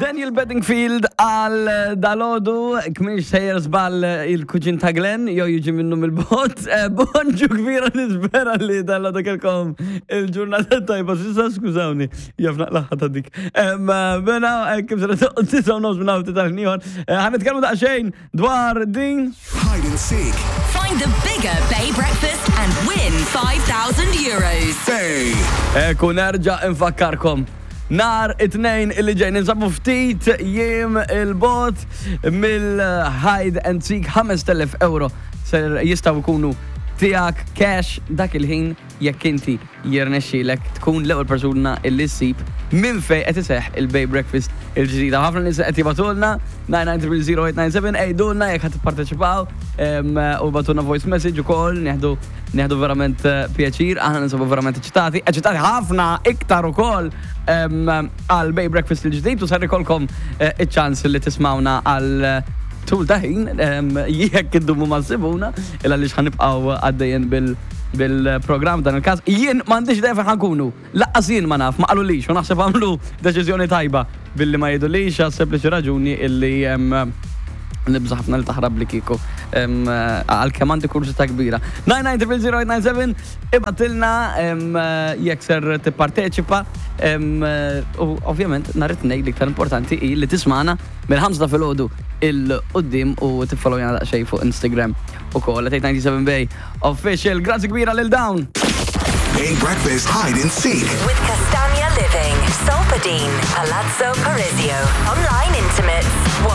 Daniel Bedingfield għal dalodu, kminx sejjer żball il-kuġin ta' Glenn, jew jiġi minnu mill-bot. Eh, bonġu kbira nispera li dalodu kelkom il-ġurnata tajba, sissa skużawni, jaf naqlaħħa ta' dik. Mela, eh, kif sera tisaw nofs minn għawti tal-ħniħor, eh, ħan nitkellmu daqsxejn dwar din. Hide and seek. Find the bigger Bay Breakfast and win 5,000 euros. Bay. Ekku nerġa' infakkarkom. Nhar it-Tnejn illi ġej ninsabu ftit jiem il-bot mill-Hide and Seek 5000 euro ser jistgħu jkunu tiegħek cash dak il-ħin jekk inti jirnexxielek tkun l-ewwel persuna illi ssib minn fejn qed iseħħ il-Bay Breakfast il-ġdida. Ħafna nies qed jibgħatulna 9930897 għidulna jekk ħadd tipparteċipaw u bagħtulna voice message ukoll nieħdu Nieħdu verament eh, pjaċir, aħna ninsabu verament eċitati, eċitati ħafna iktar ukoll għal Bay Breakfast il-ġdid u ser ikolkom eh, iċ-ċans li tismawna għal eh, tul ta' ħin jekk iddumu ma ssibuna il għaliex ħanibqgħu għaddejjin bil bil-programm dan il-każ. Jien m'għandix idea fejn ħankunu. Laqqas jien ma naf, ma qalulix u naħseb għamlu deċiżjoni tajba billi ma jgħidulix għas sempliċi raġuni illi nibża' ħafna li taħrab li kieku għalkemm għandi kurżità kbira. 9900897 ibgħatilna jekk ser tipparteċipa u ovvjament nhar it-Tnejn l-iktar importanti hi li tismagħna mill-ħamsa ta' filgħodu 'il quddiem u tiffollowjana daqsxejn fuq Instagram ukoll at 897 Bay. Official, grazzi kbira lil dawn! Bay Breakfast Hide and Seek. With Castagna Living, Solpadine, Palazzo Parisio, Online Intimates, Wolt.